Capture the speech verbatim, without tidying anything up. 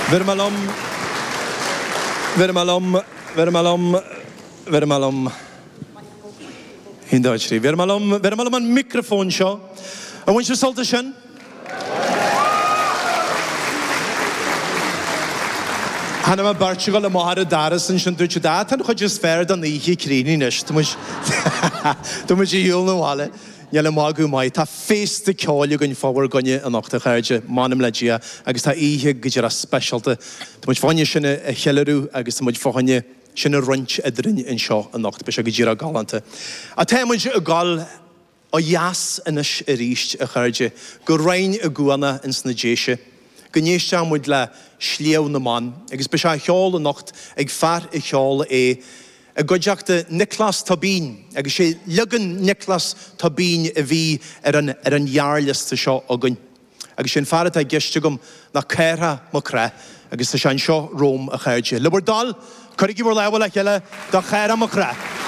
Bheir mé liom, bheir mé liom, bheir mé liom, bheir mé liom. Haon, dó, trí. Bheir mé liom, bheir mé liom an micreafón seo. An bhfuil sibh sult as sin? Chonaic mé beirt ag dul amach ar an doras ansin, dúirt siad, ah, tá an chuid is fearr den oíche críochnaithe anois, tá muid, tá muid ar shiúl na bhaile. Níl an magadh maith. Tá féasta ceoil againn fá bhur gcoinne anocht, a chairde, m'anam le Dia, agus tá oíche go díreach speisialta. Tá muid fá choinne sin a cheiliúradh agus tá muid fá choinne sin a roinnt eadrainn anseo anocht. Beidh sé go díreach galánta. Ach tá muid ag dul ó dheas anois arís, a chairde, go Rinn na gCuanach ins na Déise, go n-éistfidh muid le Sliabh na mBan, agus beidh sé á cheol anocht ag fear a cheol é i gcuideachta Nioclás Tóibín, agus sé leagan Nioclás Tóibín a bhí ar an ar an ghearrliosta seo againn. Agus sé an fear atá i gceist agam ná Cárthach Mac Craith, agus tá sé anseo romham, a chairde. Le bhur dtoil, cuirigí bhur lámha le chéile do Chárthach Mac Craith.